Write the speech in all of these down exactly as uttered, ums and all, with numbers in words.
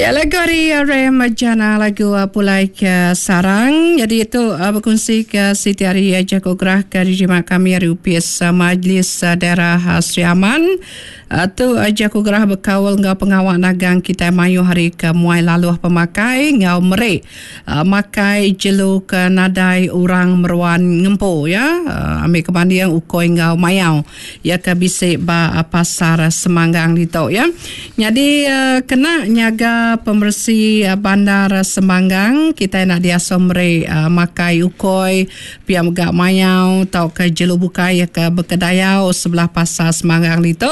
Ya, lagu ari Rem Jana, lagu uh, Pulai ke Sarang. Jadi itu uh, berkongsi ke Siti Ari Jaku Gerah ke diterima kami ari Upis uh, Majlis uh, Daerah uh, Sri Aman. Uh, tu uh, Jaku Gerah bekaul enggau pengawa nagang kitai mayuh hari ke muai laluh pemakai enggau meri uh, makai jelu ke nadai orang meruan ngempu ya. Uh, ambil ke banding ukoi enggau mayau ya ke bisi ba uh, pasar Semanggang ditu ya. Jadi uh, kena nyaga pemersi bandar Semanggang, kita nak diasuh meri uh, makai ukoi pia mega mayau tau ke jelu bukai ya ke berkedayau sebelah pasar Semanggang ditu.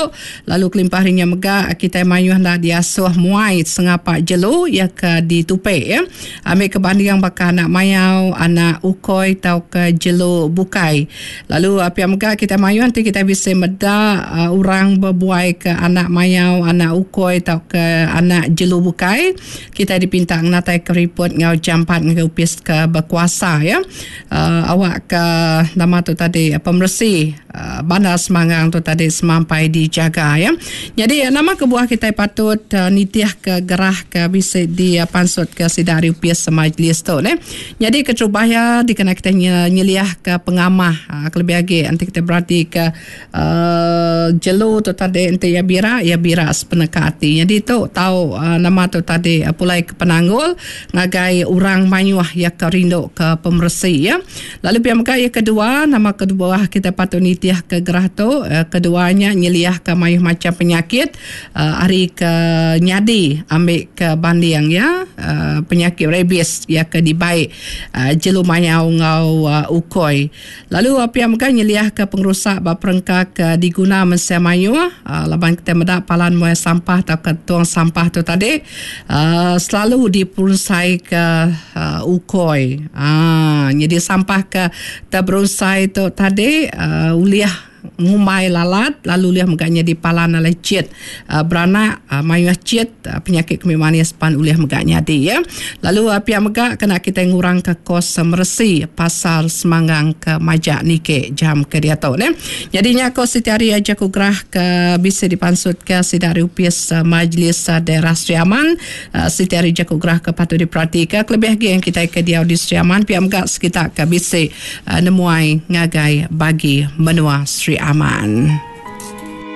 Lalu kelimpah harinya mega kita mayuh nak diasuh muai sengapa jelu ya ke ditupe ya. Ambil ke banding baka anak mayau, anak ukoi tau ke jelu bukai. Lalu uh, pia mega kita mayuh nanti kita bisa meda uh, orang berbuai ke anak mayau, anak ukoi tau ke anak jelu bukai. Kita dipinta ngatai ke report ngau jampat ngau upis ke berkuasa ya. Uh, awak ke nama tu tadi pemersi uh, bandar Semanggang tu tadi semampai dijaga ya. Jadi nama kebuah kita patut uh, nitiah ke gerah ke bisa di uh, pansut ke sidari upis majlis tu ne. Jadi keterubah ya dikena kita nyeliah ke pengamah uh, kelebih lagi nanti kita berarti ke uh, jelu tu tadi nanti ya bira ya bira sepeneka hati. Jadi tu tahu uh, nama tu tadi uh, pulai ke penanggul ngagai orang mayuh ya ke rindu ke pemersi ya. Lalu pihak mega ya kedua, nama kedua kita patut nitiah ke gerah tu uh, keduanya nyeliah ke mayuh macam penyakit uh, hari ke nyadi ambil ke banding ya uh, penyakit rabies ya ke dibaik uh, jelu mayau ngau uh, ukoi. Lalu uh, pihak mega nyeliah ke pengrusak ba perengka ke diguna mensia mayuh uh, laban kita medak palan muai sampah atau ke tuang sampah tu tadi uh, selalu diperunsai ke uh, ukoi. Ah, jadi sampah ke terberunsai tu tadi uh, uliah ngumai lalat lalu liah megaknya di palan lecit uh, beranak uh, mayuh cit uh, penyakit kemih manis pan uliah megaknya di ya. Lalu uh, pihak megak kena kita ngurang ke kos meresi pasar Semanggang ke Majak Nike jam ke dia tu ne. Jadinya kos setiap hari aja ku gerah ke bisa dipansut ke sidari upis uh, Majlis uh, Daerah Sri Aman uh, setiap hari jaku gerah ke patut diperhatikan kelebih lagi yang kita ke dia di Sri Aman pihak megak sekitar ke bisa uh, nemuai ngagai bagi menua Sri Aman.